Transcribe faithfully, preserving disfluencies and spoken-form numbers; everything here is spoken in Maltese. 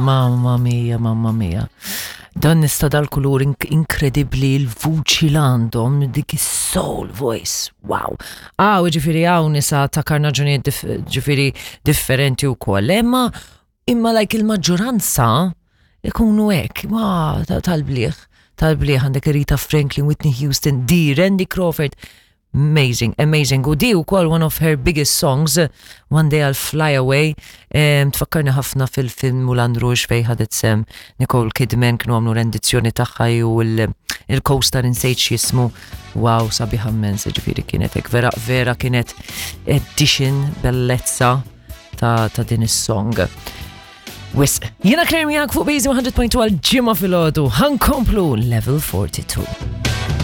Mamma mia, mamma mia. Dan nista dal-kulur ink inkredibli, l-vuċi l-għandhom, dik is-soul voice, wow. Ah, ġifieri hawn nisa ta' karnaġunijiet dif ġifieri differenti u koll, imma imma like il-maġġoranza ikunu hekk, wow, tal-bliħ, tal-bliħ għandek Aretha Franklin, Whitney Houston, Dee, Randy Crawford, amazing, amazing. U di wkoll one of her biggest songs, One Day I'll Fly Away, um, tfakkarni ħafna fil-film Moulin Rouge fej ħadet sehem Nicole Kidman, kienu għamlu rendizzjoni tagħha u il-co-star insejt x'jismu. Wow, sabiħa immens, ġifieri kienet hekk vera, vera kienet edition bellezza ta', ta' din is-song. Wisq, jiena Claire miegħek fuq Base one hundred point two għal Ġimgħa filgħodu, ħa nkomplu Level forty-two.